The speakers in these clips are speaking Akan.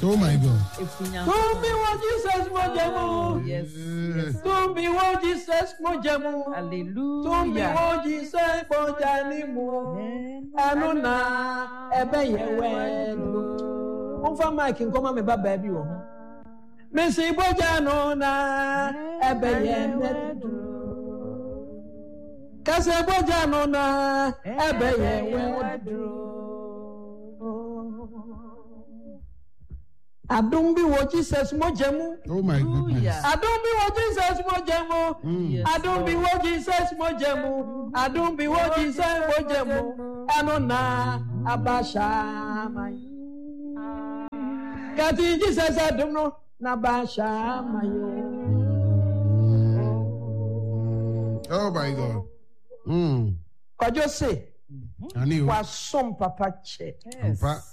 Oh my God. Tumi wɔ Jesus mogya mu. Oh, yes, yes. Tumi wɔ Jesus mogya mu. Hallelujah. Tumi wɔ Jesus mogya ni mu. Ɛno na ɛbɛyɛ wɛnu. Momfa mic nkɔma me ba baabi wɔ ho. Mesi mogya no na ɛbɛyɛ wɛnu. Kasa mogya no na ɛbɛyɛ wɛnu. Adom bi wɔ Jesus mogya mu. Oh my goodness. Adom bi wɔ Jesus mogya mu. Adom bi wɔ Jesus mogya mu. Adom bi wɔ Jesus mogya mu. Ɛno na abahyɛ Kati Jesus adom no na abahyɛ ama yo. Oh my God. Mm. Kwadwo se. Wasom papa kyɛ. Yes.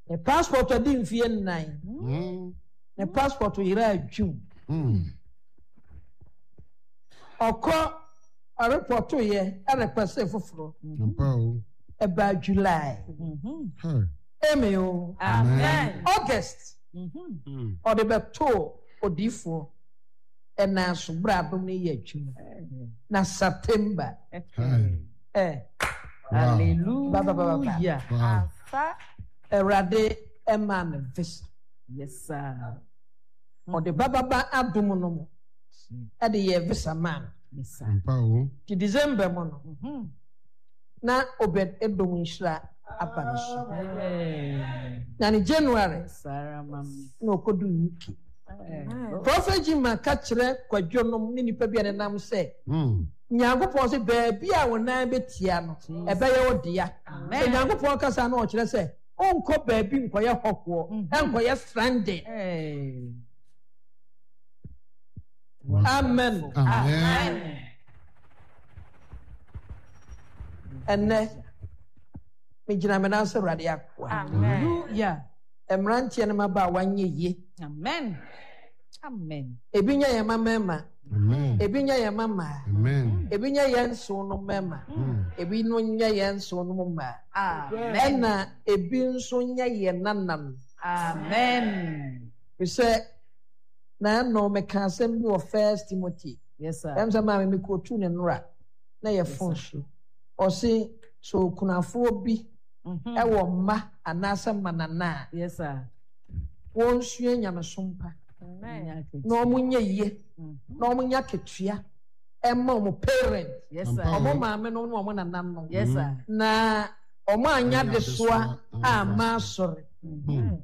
Ne passport adi mfeɛ nnan. Ne passport yera adwum. Ɔkɔ ɔrepɔtoyɛ ɛrepɛse foforɔ. Ɛbaa July. Amen o. Amen. August. Ɔde bɛtoo odiifoɔ ɛnan so berɛ adom no yɛ adwuma. Na September. Eh. Hallelujah. Wow. Awurade ɛmaa no visa. Yes, sir. Ɔde bababa adom no mu ɛde yɛ visa maa no. Yes, sir. Ampa o. Ti December mu no, na Obed Edom nhyira aba ne so. Na ne January Sarah, mami. na ɔkɔdu UK. Prophet Jimma ka kyerɛ kwadwo nom ne nipa bi a nenam sɛ Nyankopɔn sɛ baabi a wo nan bɛtia no ɛbɛyɛ wo dea. Sɛ Nyankopɔn kasa na ɔkyerɛ sɛ wonkɔ baabi nkɔyɛ hɔhoɔ, ɛnkɔyɛ stranded. Amen. Amen. Ɛnnɛ, megyina me nan sɛ Awurade akoa. Hallelujah. Mmeranteɛ ne mmabaawa nyɛ yie. Amen. Amen. Ebi nyɛ yɛn mma mmarima. Amen. Ebi nyɛ yɛn mma mmaa. Amen. Ebi nyɛ yɛn nson no mmarima. Ebi no nyɛ yɛn nson no mmaa. Amen. Ɛna ebi nso nyɛ yɛn nananom. Amen. Sɛ na ɛno meka asɛm bi wɔ First Timothy. Yes, sir. Ɛm sɛ maame mi kootu ne nnora na yɛ fon so. Ɔse sɛ okunafoɔ bi ɛwɔ mma anaasɛ mmanana a. Yes, sir. Wɔnsua nyamesom pa na wɔn nyɛ yie na wɔn nyɛ akatua ɛma wɔn parent wɔn maame no ne wɔn nananom na wɔn anya adesoa amma asɔre.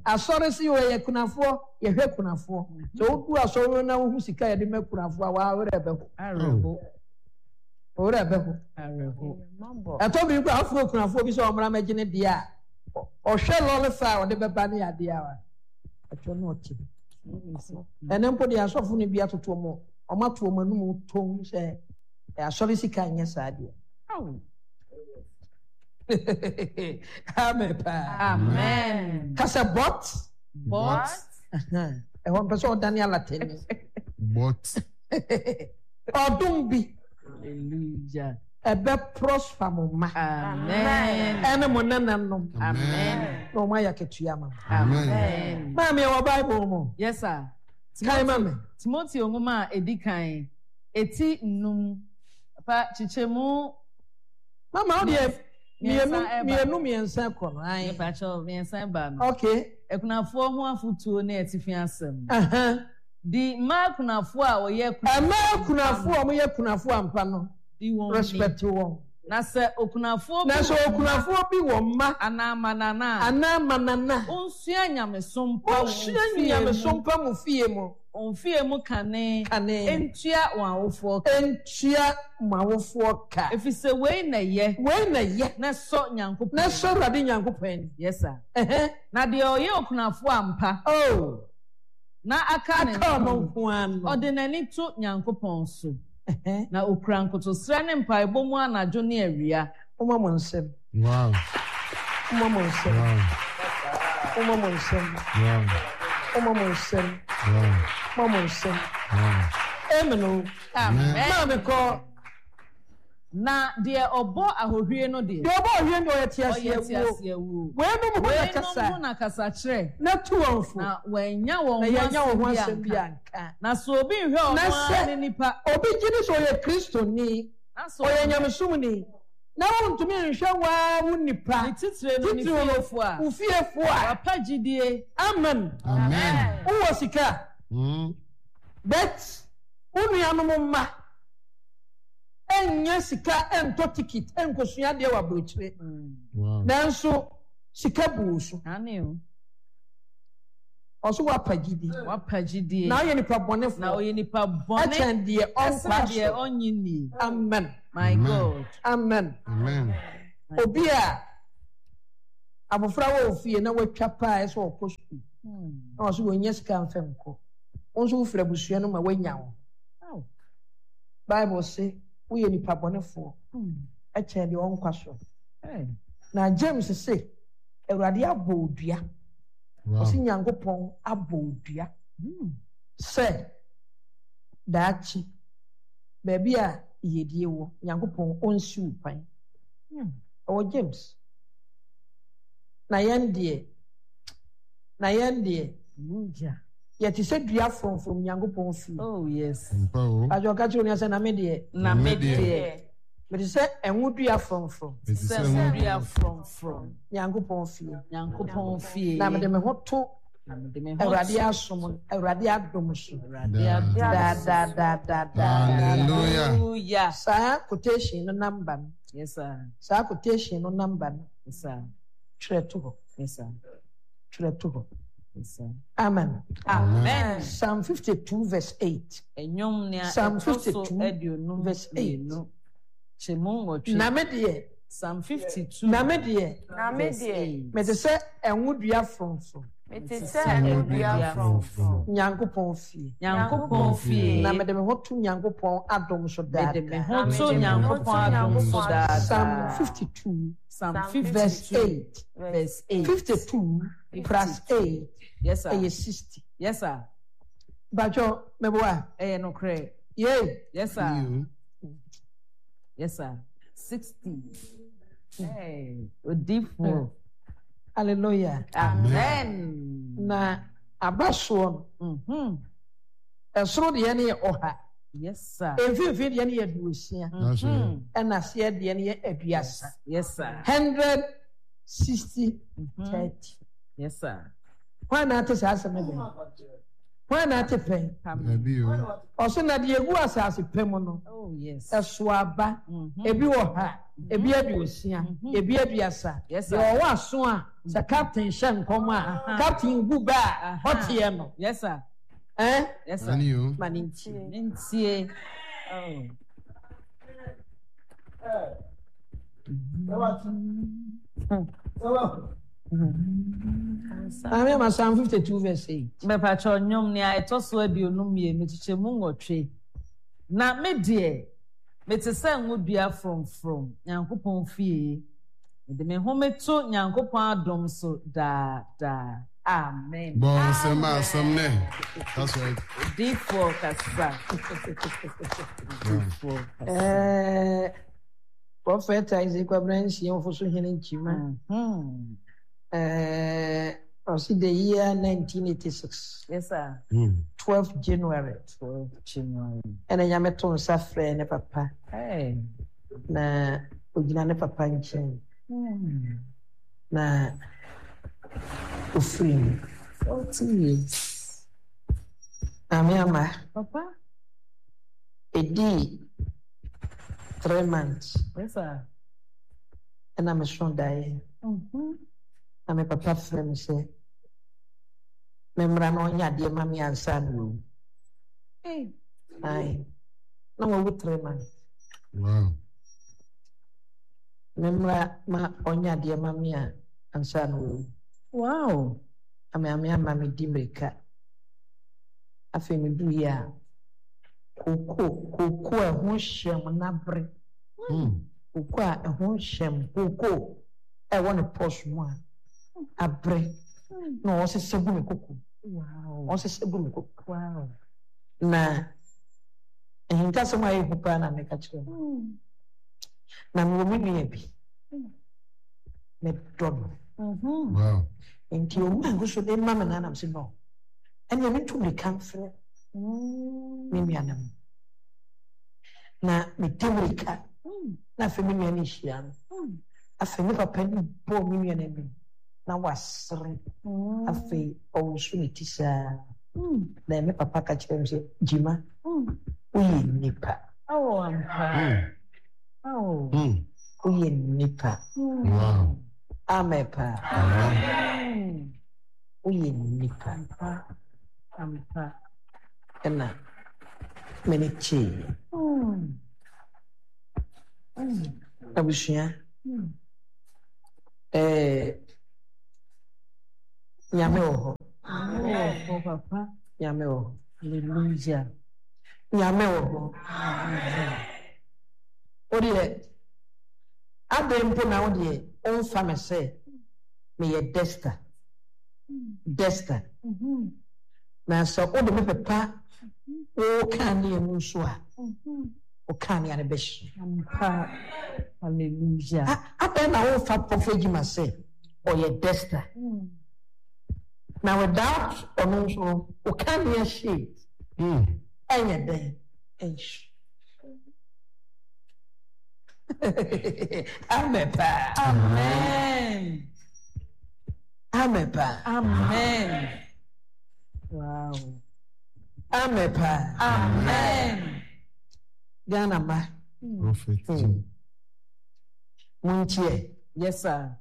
Asɔre si wɔ yɛ kunafoɔ yɛhwɛ kunafoɔ sɛ wodu asɔre na wohu sika yɛde ma kunafoɔ a wɔawerɛ bɛho. Owura bɛho. Ɛtɔ bi kora afuro kunafoɔ bi sɛ ɔmmra mɛgye ne deɛ a ɔhwɛ lɔre fa a ɔde bɛba ne adeɛ a ɛtɔ no ɔte. Ɛnɛ mpo deɛ asɔfo no bi atoto wɔn wɔn ato wɔn anum tom sɛ asɔre sika nyɛ saa deɛ. Amen paa. Amen. Kasa bɔt. Bɔt. Ɛhɔ mpɛ sɛ ɔdane alatani. Bɔt. Ɔdom bi. Hallelujah. Ɛbɛ prosper mo mma. Amen. Ɛne mo nananom. Amen. Na wɔn ayɛ akatua ma mo. Amen. Maame ɛwɔ Bible mu. Yes sir. Kan ma me. Timoteo nwoma a edi kan eti nnum pa kyekyɛmu. Mama wo deɛ mmienu mmienu mmiɛnsa kɔ no. Ayi. Mepakyɛw mmiɛnsa ba no. Okay. Akunafoɔ ho afotuo ne atifi asɛm. Di mmaa akunafoɔ a wɔyɛ akunafoɔ. Mmaa akunafoɔ a wɔyɛ akunafoɔ ampa no. Di wɔn ni. Respect wɔn. Na sɛ okunafoɔ bi Na sɛ wɔ mma. okunafoɔ bi wɔ mma. Anaa mmanana a. Anaa mmanana. Onsua nyamesom pa wɔn Onsua fie mu. nyamesom pa mo fie mu. Wɔn fie mu kane. Kane. Ntua wɔn awofoɔ ka. Ntua mo awofoɔ ka. Ɛfiri sɛ wei na ɛyɛ. Wei na ɛyɛ. Na ɛsɔ Nyankopɔn Na ani. ɛsɔ Awurade Nyankopɔn ani. Yes sir. Ɛhɛn. Na deɛ ɔyɛ okunafoɔ ampa. Oh. Na aka ne Aka ɔno nko ara no. Ɔde n'ani to Nyankopɔn so. Na okura nkotosrɛ ne mpaebɔ mu anadwo ne awia. Momma mo nsam. Wow. Momma mo nsam. Wow. Momma mo nsam. Wow. Momma mo nsam. Wow. Momma mo nsam. Wow. Amen o. Amen. Maame kɔ. Na deɛ ɔbɔ ahohwie no deɛ. Deɛ ɔbɔ ahohwie no deɛ, ɔyɛ Ɔyɛ teaseawuo. teaseawuo. Weinom ho na kasa. Weinom ho na kasa kyerɛ. Na tu wɔn fo. Na wɔannya wɔn Na ho yɛannya wɔn ho asɛm asɛm bi bi anka. anka. Na sɛ obi nhwɛ ɔno Na ara sɛ ne nipa. obi gye di sɛ ɔyɛ Kristoni, Na sɛ ɔyɛ ɔhwɛ. nyamesomni, na wontumi nhwɛ wo ara wo nipa, Ne titire no, ne titiriw no, fiefoɔ a. wo fiefoɔ a. Wapa gyidie. Amen. Amen. Wowɔ sika, but wo nuanom mma nnya sika ntɔ ticket nkosua adeɛ wɔ aburokyire. Nanso sika bu wo so. Ɔso wapa gyidi. Wapa gyidie. Na ɔyɛ nipa bɔnefoɔ. Na ɔyɛ nipa bɔne. Ɛkyɛn deɛ ɔnkɔ Ɛsene deɛ asɔre. ɔnnye nnie. Amen. My God. Amen. Amen. Obi a abofra wɔ ofie na watwa paa ɛsɛ ɔkɔ sukuu. Na ɔso wɔnya sika mfɛ nkɔ. Wo nso wofiri abusua no ma woanya wo. Bible se woyɛ nipa bɔnefoɔ ɛkyɛn deɛ ɔnkɔ asɔre. Na James se Awurade abɔ wo dua. Ɔse Nyankopɔn abɔ wo dua sɛ daakye baabi a yiyedie wɔ, Nyankopɔn ɔnsi wo kwan. Ɛwɔ James. Na yɛn deɛ, na yɛn deɛ, yɛte sɛ dua frɔmfrɔm Nyankopɔn fie. Oh yes. Pastor ɔka kyerɛ onua sɛ na me deɛ. Na me deɛ. Mete sɛ ɛnwo dua frɔmfrɔm. Mete sɛ ɛnwo dua frɔmfrɔm. Nyankopɔn fie. Nyankopɔn fie. Na mede me ho to. Awurade asom, Awurade adom so. Daa daa daa daa daa. Hallelujah. Saa quotation no number no. Yes sir. Saa quotation no number no. Yes sir. Twerɛ to hɔ. Yes sir. Twerɛ to hɔ. Yes sir. Amen. Amen. Psalm 52 verse 8. Ɛnwom nea Psalm ɛtɔ so 52 aduonum verse 8. mmienu kyɛmu nwɔtwe. Na me deɛ. Psalm 52 Na me deɛ. Na me verse deɛ. 8. Mete sɛ ɛnwo dua frɔmfrɔm. Mete sɛ ɛnwo dua frɔmfrɔm. Nyankopɔn fie. Nyankopɔn fie. Na mede me ho to Nyankopɔn adom so daa Mede me daa. ho Na to mede me ho Nyankopɔn to adom so Nyankopɔn daa adom so Psalm daa. 52 Psalm verse 52 8. verse 8. 52 plus 8 Yes sir. ɛyɛ 60. Yes sir. Mpakyɛw, meboa? Ɛyɛ nokorɛ. Yei. Yes sir. Yes sir. 60. Hey, odifoɔ. Hallelujah. Amen. Na aba soɔ no, ɛsoro deɛ no yɛ ɔha. Yes sir. Mfimfini deɛ no yɛ aduosia. Ɛna aseɛ deɛ no yɛ aduasa. Yes sir. 160 30. Yes sir. Hwan na ate saa asɛm no bɛn? Hwan na ate pɛn? Dabi o. Ɔso na deɛ egu asase pɛ mu no, Oh yes. ɛso aba. Ebi wɔ ha, ebi aduosia, ebi aduasa. Yes, sir. Deɛ ɔwɔ aso a, sɛ captain hyɛ nkɔm a, captain bu bɛ a, ɔteɛ no. Yes sir. Eh? Yes sir. Ani o. Ma ne ntie. Ntie. Oh. Maame ama Psalm 52 verse 8. Mɛpakyɛ nnwom nea ɛtɔ so aduonum mmienu kyekyɛ mu nwɔtwe. Na me deɛ, mete sɛ ngo dua frɔmfrɔm Nyankopɔn fie. Mede me ho meto Nyankopɔn adom so daa daa. Amen. Bɔ nsɛm a asɛm nɛ. That's right. Odiyifoɔ kasa. Odiyifoɔ kasa. Eh, Prophet Isaac Kwabena Nsiah Ofosu Hene Nkyima. Eh, ɔsi the year 1986. Yes, sir. 12 January. 12 January. Ɛna Nyame to nsa frɛ ne papa. Hey. Na ogyina ne papa nkyɛn. Na ofiri mu. 40 years. Maame ama. Papa. Edii 3 months. Yes, sir. Ɛna meso daeɛ. Na me papa frɛ me sɛ memmra na ɔnyɛ adeɛ ma me ansa na wawu. Hey. Ae. Na wawu 3 months. Wow. Memmra ma ɔnyɛ adeɛ ma me a ansa na wawu. Wow. Na maame ama me di mmirika. Afei meduiɛ a kooko kooko a ɛho hyɛm n'abere. Kooko a ɛho hyɛm kooko a ɛwɔ ne pɔs mu a abere na ɔsesa gu me koko. Wow. Ɔsesa gu me koko. Wow. Na ahintasɛm a ɛyɛ hu paa na meka kyerɛ no. Na mewɔ me nua bi, medɔ no. Wow. Nti ɔma ngu so de ma me na nam sɛ no. Ɛnna metu mmirika mfrɛ me nua no. Na medi mmirika na afei me nua no hyia no. Afei me papa no bɔɔ me nua no anim na wasere. Afei ɔwoso ne ti saa. Na me papa ka kyerɛ me sɛ, Gyima, woyɛ nnipa. Oh, ampa. Oh. Woyɛ nnipa. Wow. Amen paa. Amen. Woyɛ nnipa. Ampa. Ampa. Ɛna m'ani gyeeɛ. Abusua, ɛɛ Nyame wɔ hɔ. Nyame wɔ hɔ papa. Nyame wɔ hɔ. Hallelujah. Nyame wɔ hɔ. Wo deɛ, adɛn mpo na wo deɛ womfa me sɛ meyɛ Desta? Desta. Na sɛ wode me pepa wo kanea mu nso a, wo kanea no bɛhye. Ampa. Hallelujah. Adɛn na womfa Prophet Jima sɛ ɔyɛ Desta? Na without ɔno nso no, wo kanea hye. Ɛnyɛ dɛn? Ɛnhye. Amen paa. Amen. Amen paa. Amen. Wow. Amen paa. Amen. Ghana ma. Prophet. Montie. Yes, sir.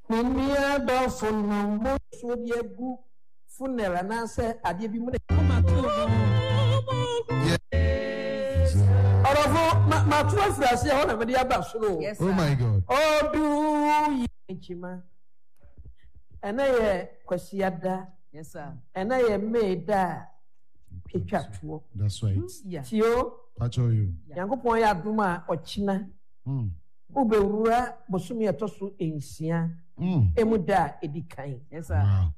Me nua dɔfo no mo nsuo de agu funnel anaasɛ adeɛ bi mu na. Ɔdɔfo, ma mato afiri aseɛ hɔ na mede aba soro. Yes, Oh sir. my God. Ɔdu yi nkyima. Ɛnɛ yɛ Kwasiada. Yes, sir. Ɛnɛ yɛ May da a ɛtwa toɔ. That's right. Yeah. Tio, Pacho you. Nyankopɔn yɛ adom a ɔkyena wobɛwura bosome a ɛtɔ so nsia emu da a ɛdi kan. Yes, sir. Wow.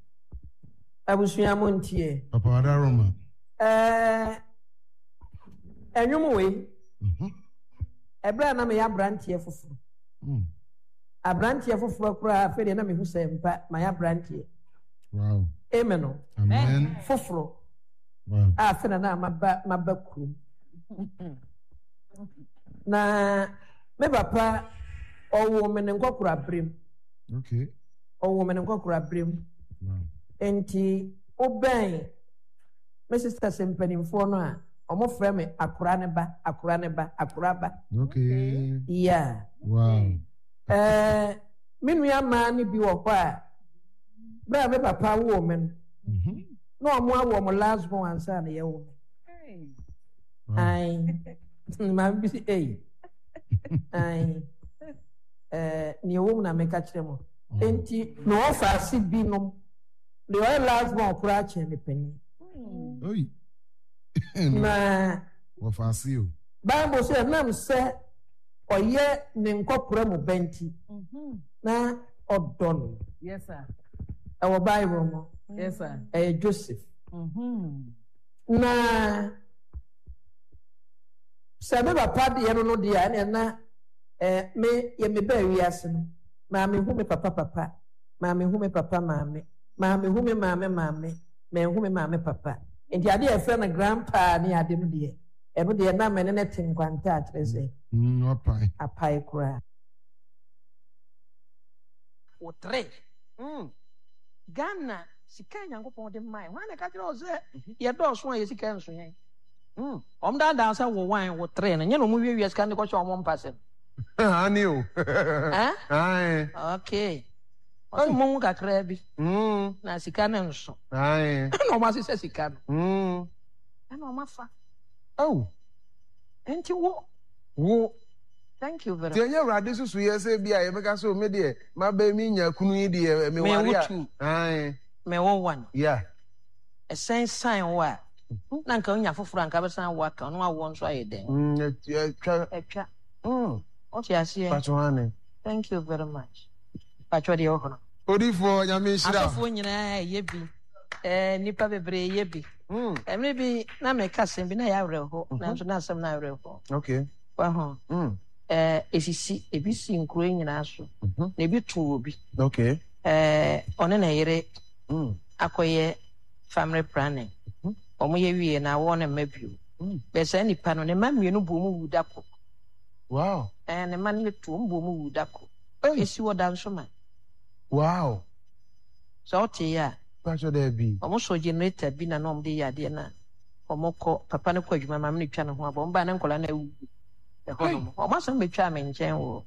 Abusua mo ntie. Papa Adaroma. Ɛɛ ɛnwom wei. Ɛberɛ a na meyɛ aberanteɛ foforɔ. Aberanteɛ foforɔ koraa afei deɛ na mehu sɛ mpa mayɛ aberanteɛ. Wow. Amen o. Amen. Foforɔ. Wow. A afei na na maba maba kurom. Na me papa ɔwoo me ne nkɔkora berem. Okay. Ɔwoo me ne nkɔkora berem. Wow. Nti wobɛn me sisters mpanimfoɔ no a, wɔfrɛ me akora ne ba, akora ne ba, akora ba. Okay. Yeah. Wow. Eh, me nua mmaa no bi wɔ hɔ a, berɛ a me papa woo me no, na wɔn awo wɔn last born ansa na yɛwo me. Ae. Maame bi si ei. Ae. Eh, nea ɛwɔ mu na meka kyerɛ mo. Enti mewɔ faase binom. Deɛ ɔyɛ last born koraa kyɛn me panin. Oi. Na wɔfaase o. Bible sɛ ɛnam sɛ ɔyɛ ne nkɔkora mu ba nti na ɔdɔ no. Yes, sir. Ɛwɔ Bible mu. Yes, sir. Ɛyɛ Joseph. Na sɛ me papa deɛ no no deɛ a ɛna na eh, me yɛ me baa wiase no maa me hu me papa papa maa me hu me papa maame maa me hu me maame maame manhu me maame papa nti adeɛ a yɛfrɛ no grandpa ne ade no deɛ ɛno deɛ na me ne no te nkwanta a kyerɛ sɛ Mm, wapae. apae koraa. Wo tre. Mm. Ghana sika a Nyankopɔn de mae. Hwan na ɛka kyerɛ wo sɛ yɛdɔɔso a yɛ sika nso yɛn? Mm. Wɔn daadaa sɛ wo wan wo tre no nyɛ na wɔn wiawia sika no de kɔhyɛ wɔn mpa sɛm. Aane o. Eh? Ae. Okay. Ɔsɛ mo ho kakraa bi. Mm. Na sika no nso. Ae. Ɛna wɔn asesa sika no. Mm. Ɛna wɔn afa. Oh. Nti wo. Wo. Thank you very Nti ɛnyɛ Awurade susuiɛ sɛ bi a yɛbɛka sɛ o me deɛ mabɛ me nya kunu yi deɛ me ware Me wo a. two. Ae. Me wo one. Yeah. Ɛsɛn san wo a, na nka wonya foforɔ a nka bɛsan awo aka wo na wawoɔ nso ayɛ dɛn? Mm, ɛtwa. Ɛtwa. Mm. Wote aseɛ? Patro ane. Thank you very much. Patro deɛ wɔ hɔ no. Odifoɔ Nyame nhyira wo. Asɔfoɔ nyinaa ɛyɛ bi. Eh, nnipa bebree yɛ bi. Mm. Mmere bi na meka asɛm bi na ɛyɛ awerɛho, nanso na asɛm no awerɛho. Okay. Wahu? Mm. Ɛɛ esisi, ebi si nkuro yi nyinaa so. Mhm. Na ebi to obi. Okay. Ɛɛ ɔne ne yere mm. akɔyɛ family planning. Mhm. Wɔn yɛ wie na awɔ ne mma bio. Mm. Bɛɛ saa nipa no ne mma mmienu bu wɔn wu da ko. Wow. Ɛɛ ne mma no yɛ tu wɔn bu wɔn wu da ko. Hey. Esi wɔ da nso ma. Wow. Sɛ ɔte yɛ a. Pastor Debbie. Wɔn sɔ generator bi na na wɔn de yɛ adeɛ na wɔn kɔ papa no kɔ adwuma maame no twa ne ho abɔ wɔn ba ne nkɔla na awu ɛhɔ nom wɔn asɛm bɛtwa me nkyɛn wɔ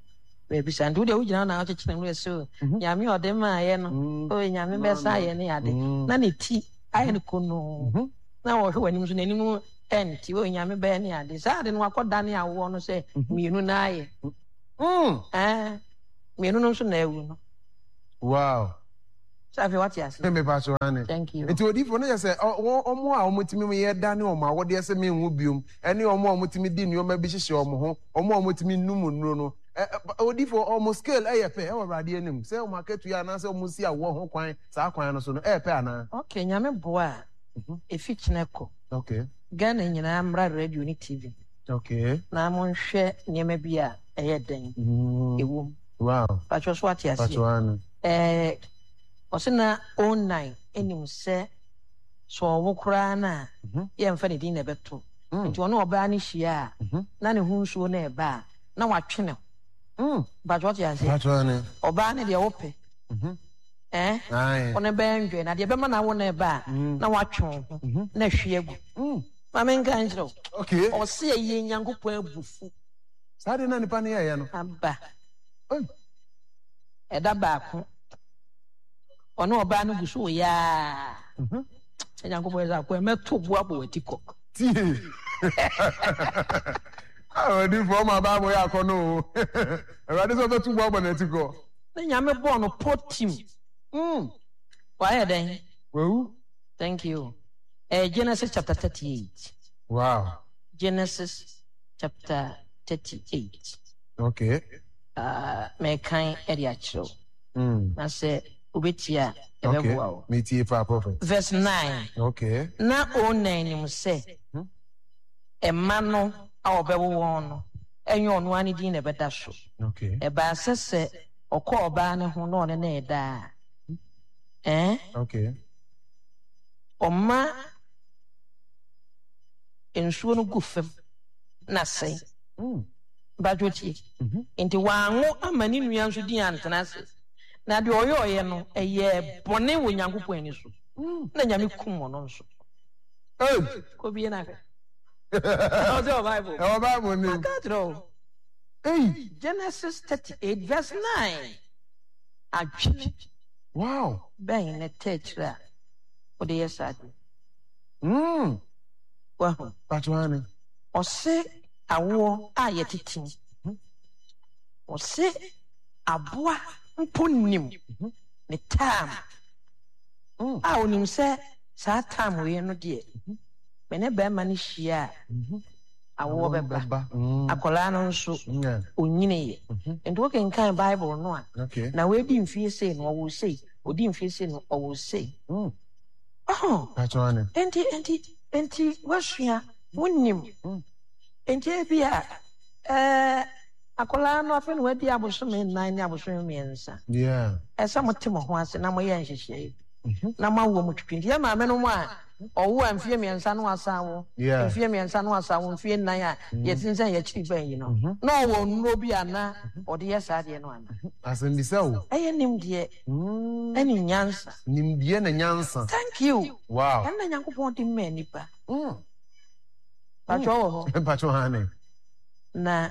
baabi saa nti wodeɛ wogyina hɔ na wokyekyere mu ɛsɛ mhm. nyame ɔde maayɛ no mm. o nyame bɛsa ayɛ ne ade mm. na ne ti ayɛ no konoo mhm. na wɔhwɛ w'anim so n'anim ɛnte o nyame bɛyɛ ne ade saa ade no wakɔ dane awoɔ no sɛ mhm. mmienu na ayɛ mm. eh, mmienu no nso na awu no wow sɛ afei wate ase. Me pa so ane. Thank you. Nti odifo no yɛ sɛ wɔn a wɔtumi yɛ da ne wɔn awodeɛ sɛ menwu biom ɛne wɔn a wɔtumi di nneɛma bi hyehyɛ wɔn ho wɔn a wɔtumi num nnuro no odifo wɔn scale ɛyɛ pɛ ɛwɔ Awurade anim sɛ wɔn akatua anaasɛ wɔn si awoɔ ho kwan saa kwan no so no ɛyɛ pɛ anaa. Okay, Nyame boa a mhm. efi kyena kɔ. Okay. Ghana nyinaa mmra radio ne TV. Okay. Na monhwɛ nneɛma bi a ɛyɛ dɛn mm. ɛwom. Wow. Patro so ate aseɛ. Patro ano. Ɛɛ, ɔse na Onan nim sɛ sɛ ɔwo koraa no a, yɛmfa ne din na ɛbɛto. Nti ɔne ɔbaa no hyia a, na ne ho nsuo no ɛba a, na watwe ne ho. Mpakyɛ ɔte aseɛ? Ɔbaa no deɛ wopɛ. Ɛɛ, wo ne bɛyɛ ndwɛ, na deɛ ɛbɛma no awo no ɛba a, na watwe wo ho, na ahwie agu. Ma menka nkyerɛ wo. Ɔse ɛyɛ Nyankopɔn abufu. Saa deɛ na nipa no yɛɛyɛ no. Aba. Ɛda baako, ɔne ɔbaa no gu so reyɛ ara. Mhm. Nyankopɔn yɛ sɛ akoa mɛto bo abɔ w'ati kɔ. Tie. Odifoɔ ma Bible yɛ akɔnɔ o. Awurade sɛ ɔbɛto bo abɔ n'ati kɔ. Na Nyame bɔɔ no pɔ tim. Mm. Wayɛ dɛn? Wawu. Thank you. Eh, Genesis chapter 38. Wow. Genesis chapter 38. Okay. Ah, mekan de akyerɛ wo. Mm. Na sɛ wobɛtie a, ɛbɛboa wo. Metie paa, prophet. Verse 9. Okay. Na Onan nim sɛ hmm? mma no a ɔbɛwo wɔn no, ɛnyɛ ɔno ara ne din na ɛbɛda so. Okay. Ɛbaa sɛ sɛ ɔkɔ ɔbaa no ho na ɔne no reda a, eh? Okay. Ɔma nsuo no gu fam na sɛe. Mm. Mpatsɔ tie. Nti wɔanwo ama ne nua nso din antena ase. Na deɛ ɔyɔɔyɛ no, ɛyɛɛ bɔne wɔ Nyankopɔn ani so. Na Nyame kum ɔno nso. Hey! Kɔ bie na hwɛ. Ɛwɔ sɛ wɔ Bible. Ɛwɔ Bible ni. Maka akyerɛ wo. Hey! Genesis 38 verse 9. Adwene. Wow! Bɛn na ɛtɛ akyire a wode yɛ saa adeɛ? Mm. Wahu. Patsɔ ane. Ɔse awoɔ a yɛtete mu. Ɔse aboa mpo nim ne time a ɔnim sɛ saa time wei no deɛ me ne bɛrima no hyia a awoɔ bɛba. Akwadaa no nso ɔnyiniiɛ. Nti wokenkan Bible no a, na wadi mfie sei no ɔwoo sei, ɔdi mfie sei no ɔwoo sei. Ɔho. Nti nti nti woasua, wonim. Enti ebia ɛɛ akwadaa no afei na wadi abosome nnan ne abosome mmiɛnsa. Ɛsɛ mote mo ho ase na moyɛ nhyehyɛe bi mhm. na moawo mo twitwi. Nti yɛ maame no mu a ɔwo a mfeɛ mmiɛnsa no asan wo mfeɛ mmiɛnsa no asan wo mfeɛ nnan a mhm. yɛsensɛn yɛkyiri bɛn yi no mhm. na ɔwɔ nnuro bi a na ɔde yɛ saa adeɛ no ana. Asɛmbisa o. Ɛyɛ nimdeɛ mm. ɛne nyansa. Nimdeɛ na nyansa. Thank you. Wow. Ɛna Nyankopɔn de mmaa nipa. Mm. Mpakyɛ wɔ hɔ. Mpakyɛ hane. Na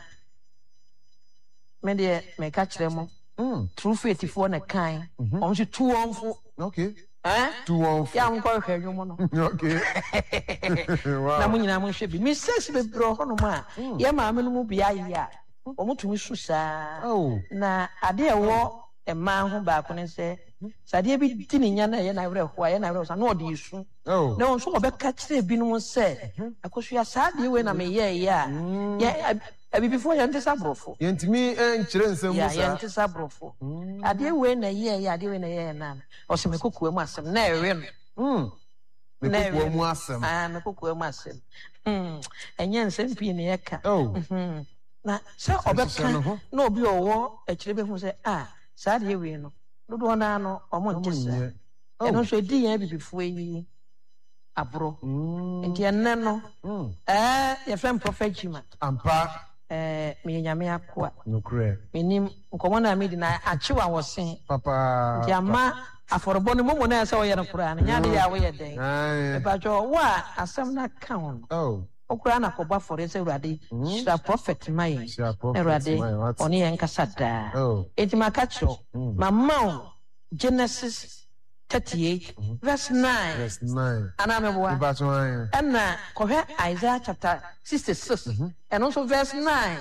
me deɛ meka kyerɛ mo. Mm. True faith foɔ na kan. Mm-hmm. Wɔn nso tu wɔn fo. Okay. Eh? Tu wɔn fo. Yɛ a mo nkɔ hwehwɛ nnwom no. Okay. wow. Na mo nyinaa mo nhwɛ bi. Mistakes bebree wɔ hɔnom a mm. yɛ maame no mu bi ayɛ a wɔn tumi su saa. Oh. Na adeɛ ɛwɔ mmaa ho baako ne sɛ sɛ adeɛ bi di ne nya na ɛyɛ n'awerɛhoɔ a ɛyɛ n'awerɛhoɔ sa na ɔde esu. Oh. Na wɔn nso wɔbɛka kyerɛ binom sɛ, Akosua, saa adeɛ wei na meyɛeɛ a, Mm. yɛ abibifoɔ yɛnte sɛ aborɔfo. Yɛntumi nkyerɛ nsɛm mu Yeah, saa. yɛnte sɛ aborɔfo. Adeɛ wei na ɛyɛeɛ, adeɛ wei na ɛyɛeɛ na ɔsɛ me kokoa mu asɛm na ɛwe no. Me Na kokoa ɛwe mu no. asɛm. Ah, me kokoa mu asɛm. Hmm. Ɛnyɛ nsɛm pii na yɛka. Oh. Mhm. Na sɛ ɔbɛka na obi a ɔwɔ akyire bɛhu sɛ a saa adeɛ wei no dodoɔ no ara no wɔn nte saa. Ɛno nso ɛdi yɛn abibifoɔ yi aborɔ. Nti ɛnnɛ no ɛɛ yɛfrɛ me Prophet Jima. Ampa. Ɛɛ meyɛ Nyame akoa. Nokorɛ. Menim nkɔmmɔ no a medi no akyew awɔse. Papaapa. Nti ama afɔrebɔ no momo no a ɛsɛ sɛ woyɛ no koraa no nyɛ adeɛ a woyɛ dɛn. Mepakyɛw wo a asɛm no aka wo no. Wo koraa na kɔbɔ afɔreɛ sɛ Awurade hyira prɔfɛt ma yɛn na Awurade ɔne yɛn nkasa daa. Enti maka kyerɛ wo, mama wo Genesis 38 verse 9 anaa meboa? Ɛna kɔhwɛ Isaiah chapter 66 ɛno nso verse 9.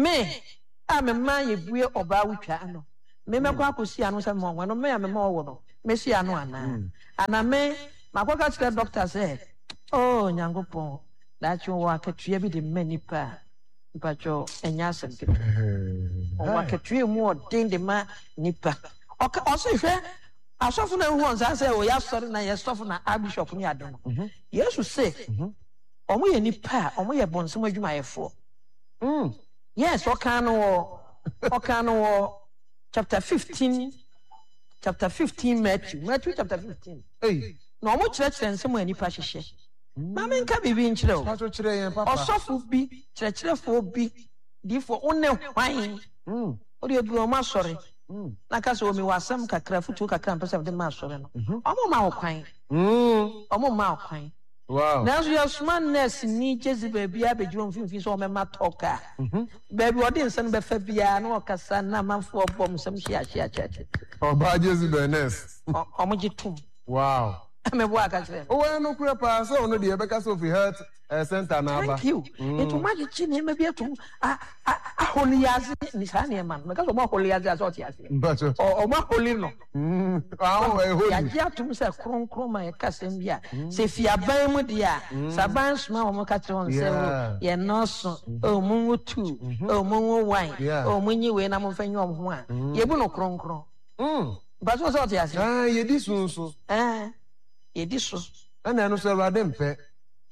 Me a mema yɛbue ɔbaa wotwa ano, me mɛkɔ akɔsi ano sɛ mema ɔwo, ɛno me a mema ɔwo no mɛsi ano anaa? Anaa me makɔka kyerɛ dɔkta sɛ Oh Nyankopɔn, daakye ɔwɔ akatua bi de ma nnipa a, mpakyɛw ɛnyɛ asɛm ketewa. Ɔwɔ akatua emu ɔden de ma nnipa. Ɔka ɔse hwɛ asɔfo na ehu wɔn saa sɛ ɔyɛ asɔre na yɛ sɔfo na archbishop ne ade no. Mhm. Yesu se mhm. wɔn yɛ nnipa a wɔn yɛ bɔnsam adwumayɛfoɔ. Mm. Yes, ɔka no wɔ ɔka no wɔ chapter 15 chapter 15 Matthew Matthew chapter 15. Hey. Na wɔkyerɛkyerɛ nsɛm a nnipa hyehyɛ. Ma menka biribi nkyerɛ wo. Ɔsɔfo bi, kyerɛkyerɛfoɔ bi, diyifoɔ, wo ne hwan? Wo deɛ duru wɔn asɔre na ka sɛ, O mewɔ asɛm kakra, afotuo kakra a mepɛ sɛ mede ma asɔre no. Wɔmma wo kwan. Wɔmma wo kwan. Nanso yɛsoma nɛɛseni Jezebel biara bɛgyina wɔn mfimfini sɛ ɔmmɛma talk a, baabi a ɔde nsa no bɛfa biara na ɔkasa na amanfoɔ bɔ wɔn nsam hyia hyia hyia hyia. Ɔbaa Jezebel nɛɛse. Wɔgye tom. Wow. Me boa ka kyerɛ no. Owɔ yɛ nokorɛ paa sɛ ɔno deɛ yɛbɛka sɛ ofi health eh, center na aba. Thank you. Nti ɔmo agyegye nneɛma bi atom a a aholi ase ne saa nneɛma no. Meka sɛ ɔmo aholi ase a sɛ ɔte aseɛ. Mpakyɛ. Ɔ ɔmo aholi no. Aho ɛyɛ holy. Yɛagye atom sɛ kronkron ma yɛka asɛm bi a sɛ fi aban mu deɛ a sɛ aban soma wɔn ka kyerɛ wɔn sɛ o yɛn nɔɔso o monwo two o monwo one o monyi wei na momfa nyi wɔn ho a yɛbu no kronkron. Mpatsɔ sɛ ɔte ase. Ɛɛ yɛdi so nso. Ɛɛ yɛdi so. Ɛna ɛno nso Awurade mpɛ.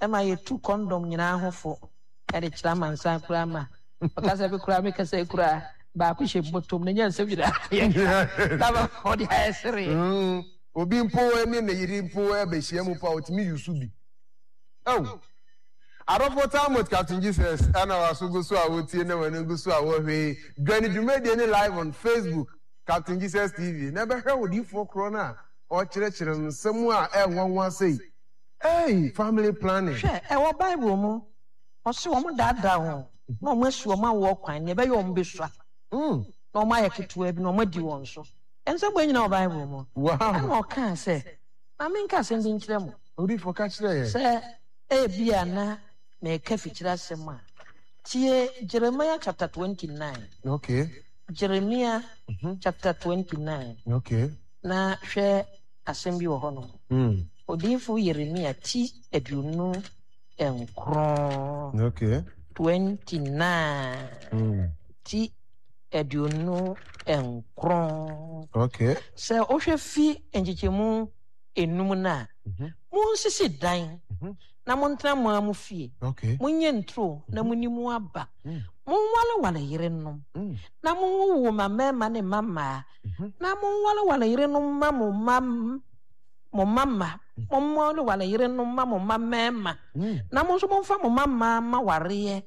Ɛma yɛtu kɔndɔm nyinaa ho fo ɛde kyerɛ amansan koraa ma ɔka sɛ me koraa me kasa yi koraa baako hyɛ bɔtɔm na nyɛ nsɛm nyinaa yɛka na ma ɔde ayɛ sereɛ. Obi mpo ne ne yere mpo bɛhyia mu mpo a ɔtumi yusu bi. Oh! Adɔfoɔ Talmud Captain Jesus ɛna waso gu so a wotie na w'ani gu so a wɔhwɛ yi. Dwane dwumadie ne live on Facebook. Captain Jesus TV, na ɛbɛhwɛ odiyifoɔ korɔ no a ɔrekyerɛkyerɛ nsɛm a ɛnwanwa sei. Ei, family planning. Hwɛ, ɛwɔ Bible mu, ɔse wɔn daadaa wɔn na wɔn asi wɔn awoɔ kwan, nea ɛbɛyɛ wɔn bɛsua, na wɔn ayɛ ketewa bi na wɔn adi wɔn so. Nsɛm wei nyinaa wɔ Bible mu. Wow. Ɛna ɔkaa sɛ, Ma menka asɛm bi nkyerɛ mo. Odiyifoɔ ka kyerɛ yɛn. Sɛ ebia na mereka fikyire asɛm a, tie Jeremiah chapter 29. Okay. Jeremia chapter 29. Okay. Na hwɛ asɛm bi wɔ hɔnom. Mm. Odiyifo Yeremia ti 29. Okay. 29. Mm. Ti 29. Okay. Sɛ wohwɛ fi nkyekyɛmu enum no a, Monsisi dan na montena mo ara mo fie, monyɛ nturo na monni mu aba, monwareware yerenom na monwowo mma mmarima ne mma mmaa, na monwareware yerenom mma mo mma mo mma mma, monwareware yerenom mma mo mma mmarima, na mo nso momfa mo mma mmaa mma wareɛ,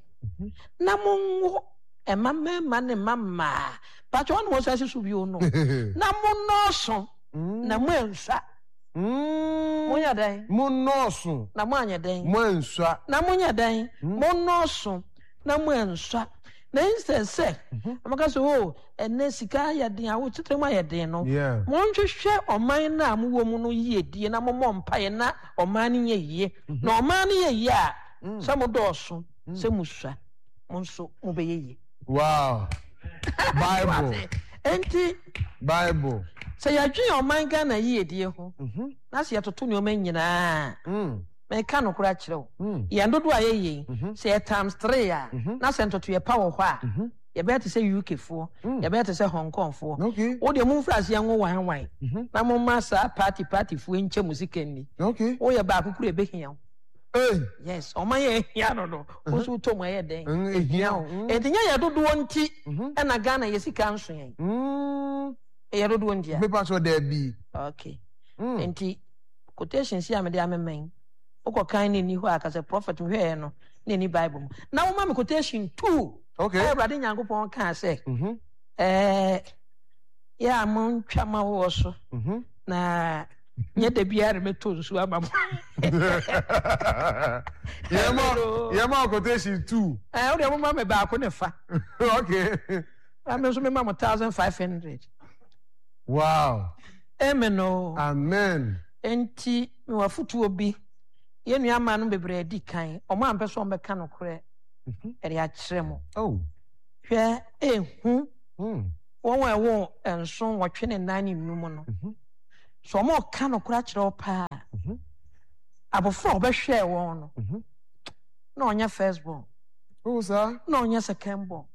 na monwo mma mmarima ne mma mmaa. Pakyɛ wɔn na wɔsan si so bio no, na monnɔɔso na moansua. Monyɛ dɛn? Monnɔɔso. Na moanyɛ dɛn? Moansua. Na monyɛ dɛn? Monnɔɔso na moansua. Na instead sɛ wɔka sɛ o ɛnɛ sika ayɛ den awotetɛ mu ayɛ den no, monhwehwɛ ɔman no a mowɔ mu no yiedie na mommɔ mpaeɛ na ɔman no nyɛ yie. Na ɔman no yɛ yie a, sɛ modɔɔso, sɛ musua, mo nso mobɛyɛ yie. Wow. Bible. Enti. Bible. Sɛ yɛdwen ɔman Ghana yiedie ho na sɛ yɛtoto nneɛma nyinaa a, meka nokorɛ akyerɛ wo, yɛn dodoɔ a yɛyɛ yi, sɛ yɛ times three a, na sɛ ntotoeɛ pa wɔ hɔ a, yɛbɛyɛ te sɛ UK foɔ, yɛbɛyɛ te sɛ Hong Kong foɔ. Wo deɛ momfiri aseɛ nwo wan wan na momma saa party party foɔ nkyɛ mo sika nni. Woyɛ baako koro a ɛbɛhia wo. Ei. Yes, ɔman yɛ ehia no no, wo nso wotɔ mu ɛyɛ dɛn? Ehia wo. Enti nyɛ yɛ dodoɔ nti ɛna Ghana yɛ sika nso yɛn. Ɛyɛ dodoɔ nti a. Mepa so daabi. Okay. Enti quotation si a mede amema yi, wokɔ kan ne nni hɔ a ka sɛ prophet mehwɛɛ no na ɛni Bible mu. Na woma me quotation two. Okay. Awurade Nyankopɔn kaa sɛ, ɛɛ yɛ a montwa ma woɔ so na nyɛ da biara na mɛtɔ nsuo ama mo. Yɛma quotation two. Ɛɛ wo deɛ moma me baako ne fa. Okay. Na me nso mema mo 1500. Wow. Amen o. Amen. Enti mewɔ afotuo bi. Yɛn nua mmaa no bebree adi kan. Wɔn ampɛ sɛ wɔbɛka nokorɛ ɛde akyerɛ mo. Oh. Hwɛ ehu. Wɔn a ɛwɔ nson, nwɔtwe ne nan ne nnum no, sɛ wɔreka nokorɛ akyerɛ wo paa a, abɔfra a ɔbɛhwɛɛ wɔn no, na ɔnyɛ first born. Na ɔnyɛ second born.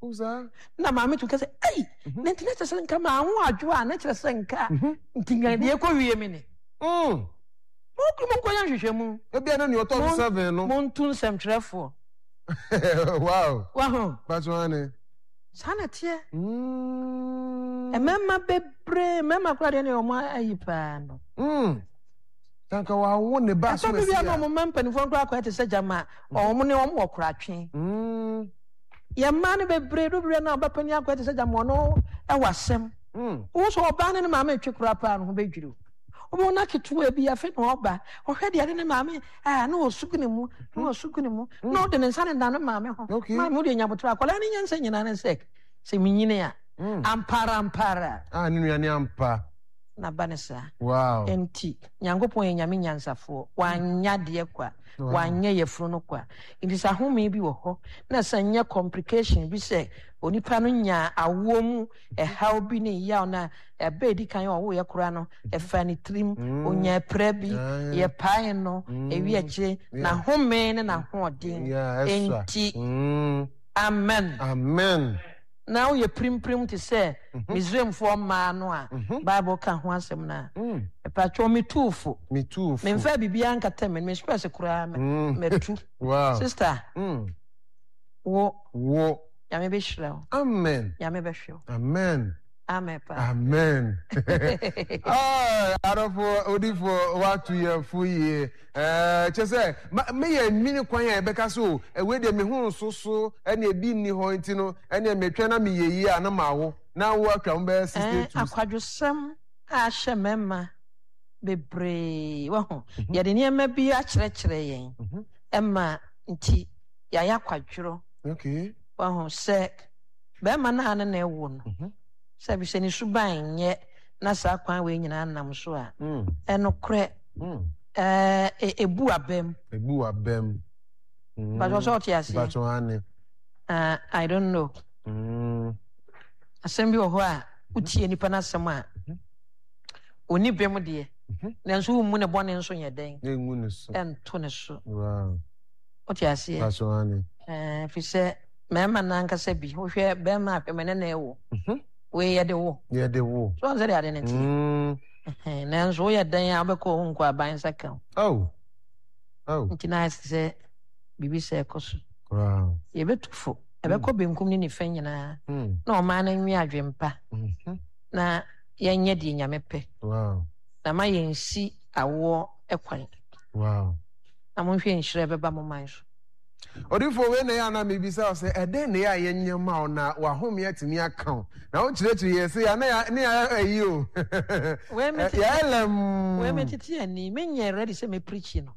Na maame tu ka sɛ, ei, na nti na kyerɛ sɛ nka maa ho adwo a, na kyerɛ sɛ nka nti nka deɛ ɛkɔ wie mi ni. Monkɔyɛ nhwehwɛmu. Ebia na nea ɔtɔ so seven no. Montu nsɛmtwerɛfoɔ. Wow. Waho. Bàtò ane. Saa na ɛteɛ. Mmarima bebree, mmarima koraa deɛ ne wɔn ayi paa no. Tanka wɔawo ne ba so ɛsɛ bi a na wɔn mma mpanimfoɔ koraa kɔɛ te sɛ gyama wɔn ne wɔn wɔ koratwe. Yɛn mmaa no bebree do bebree na ɔba panyin akɔɛ te sɛ gyama ɔno ɛwɔ asɛm. Wo sɛ ɔbaa ne ne maame retwe koraa paa no ho bɛdwiri o. Wobɛhu na ketewa bi afei na ɔba ɔhwɛ deɛ ne ne maame a na ɔsu gu ne mu na ɔsu gu ne mu na ɔde ne nsa ne da ne maame ho. Maame wo deɛ nya aboterɛ akwadaa ne nyansa nyinaa ne sɛ sɛ menyini a ampara ampara. A ne nua ne ampa. Na ba ne saa. Wow. Enti Nyankopɔn yɛ Nyame nyansafoɔ wanyɛ adeɛ kwa wanyɛ yafunu no kwa nti sɛ ahome bi wɔ hɔ na sɛ nyɛ complication bi sɛ onipa no nyaa awoɔ mu ɛhaw bi ne yaw no a ɛbɛ edi kan a ɔwoeɛ koraa no, ɛfaa ne tirim, ɔnyaa pira bi, yɛpaee no, ɛwi akyire, n'ahome ne n'ahoɔden nti. Amen. Amen. Na woyɛ pirimpirim te sɛ Misraimfoɔ mmaa no a Bible ka ho asɛm no a, mepakyɛw metuu fo. Metuu fo. Memfaa biribiara nkata m'ani, me spɛs koraa matu. Sister, wo. Wo. Nyame bɛhyira wo. Amen. Nyame bɛhwɛ wo. Amen. Amen paa. Amen. Ah, adɔfo odifo watu yɛn fo yie. Ɛɛ kyɛ sɛ meyɛ nwini kwan a yɛbɛka so ɛwei deɛ me ho nso so ɛne ebi nni hɔ nti no ɛne metwɛn na meyɛ yie a na mawo na wo atwa ho bɛyɛ 62. Akwadwosɛm a ahyɛ mmarima bebree wahu yɛde nneɛma bi akyerɛkyerɛ yɛn ɛma nti yɛayɛ akwadworɔ. Okay. Wahu sɛ bɛrima no a ne na ɛwo no, mhm. sɛ bi sɛ ne suban nyɛ na saa kwan wei nyinaa nam so a, mm. ɛnokorɛ mm. ɛɛ ebu abam. Ebu abam. Mm. Bàtò sɛ ɔte aseɛ. Bàtò ane. Uh, I don't know. Asɛm bi wɔ hɔ a wotie nipa n'asɛm a mhm. onni bem deɛ mhm. nanso wommu ne bɔne nso nyɛ dɛn ɛnto ne so. Wote aseɛ? Paso aane. Ɛɛ, firi sɛ mmarima no ankasa bi, wohwɛ bɛrima a hwɛ me ne na ɛwo. Mhm. Wei yɛde wo. Yɛde wo. So ɔn sɛ de ade no teɛ. Mm. Nanso woyɛ dɛn a wobɛkɔ wo nkɔ aban nsa ka wo. Oh. Oh. Nti na ayɛ sɛ biribi sɛ ɛkɔ so. Wow. Yɛbɛtu fo. Ɛbɛkɔ mm. benkum ne nifa nyinaa. Mm. Na ɔman no nwe adwempa. Mm -hmm. Na yɛnyɛ deɛ Nyame pɛ. Wow. Na ma yɛnsi awoɔ kwan. Wow. Na monhwɛ nhyira a ɛbɛba mo man so. Odiyifoɔ, wei na ɛyɛ a na mebisa wo sɛ, ɛdɛn na ɛyɛ a yɛnyɛ ma wo na w'ahome atumi aka wo? Na wokyerɛkyerɛ yɛn sei a, na yɛ ne yɛayɛ ayi o. Wei me tete, Yɛayɛ lɛmm. wei me tete ani, menyɛ ready sɛ me preachi no.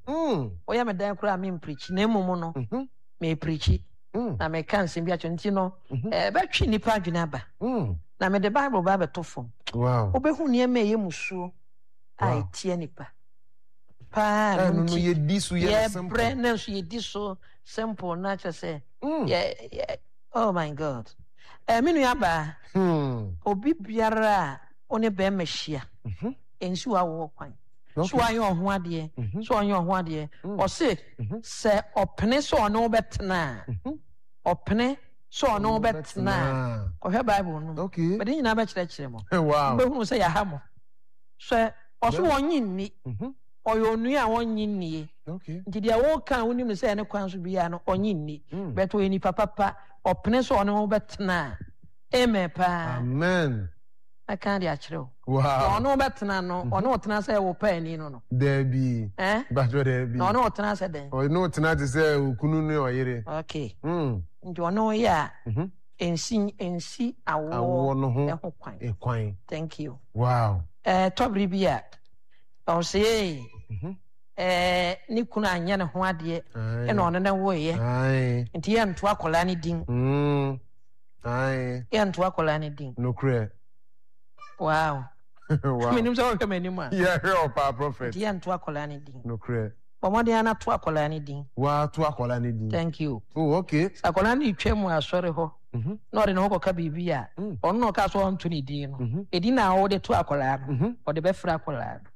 Woyɛ me dan koraa a me mpreachi, na mmom no, me preachi. Na meka nsɛm bi akyerɛ nti no, ɛbɛtwe nnipa adwene aba. Na mede Bible ba abɛto fam. Wow. Wobɛhu nneɛma a ɛyɛ musuo a ɛtia nnipa. paa no nti yɛbrɛ na nso yɛdi so simple na kyerɛ sɛ mm. yɛ yɛ oh my god eh, me nua baa hmm. obi biara a wo ne bɛrima hyia mhm. ɛnsi w'awoɔ kwan so wayɛ ɔho adeɛ mhm. so ɔnyɛ ɔho adeɛ mm. ɔse mhm. sɛ ɔpene sɛ ɔne wo bɛtena a ɔpene sɛ ɔne wo bɛtena a kɔhwɛ bible no mu mede nyinaa bɛkyerɛkyerɛ mo wobɛhunu sɛ yɛha mo sɛ Ɔso ɔnye nni. Ɔyɛ onua a ɔnnye nnie. Okay. Nti deɛ woka a wonim no sɛ ɛne kwan so biara no ɔnye nni. But ɔyɛ nipa papa, ɔpene sɛ ɔne wo bɛtena a, amen paa. Amen. Mɛka de akyerɛ wo. Wow. Na ɔne wo bɛtena no, ɔne wo tena sɛ wo paani no no. Daabi. Eh? Bàtɔ daabi. Na ɔne wo tena sɛ dɛn? Ɔne wo tena te sɛ okunu ne ɔyere. Okay. Nti ɔne wo yɛ a, ɛnsi ɛnsi awoɔ Awoɔ no ho ho kwan. kwan. Thank you. Wow. Ɛɛ tɔbere bi a, ɔsɛ ee, ɛɛ ne kunu anyɛ ne ho adeɛ ɛna ɔne ne woeɛ. Nti yɛnto akwadaa no din. Yɛnto akwadaa no din. Nokorɛ. Wow. Wow. Menim sɛ wɔhwɛ m'anim a. Yɛhwɛ wɔ paa prophet. Nti yɛnto akwadaa no din. Nokorɛ. Bɔ mmɔden ara na to akwadaa no din. Woato akwadaa no din. Thank you. Oh, okay. Sɛ akwadaa no retwa mu asɔre hɔ mhm. na ɔde ne ho kɔka biribi a, mm. ɔno na ɔka so ɔnto ne din no. Mhm. Edin a wɔde to akwadaa no, mhm. ɔde bɛfrɛ akwadaa no.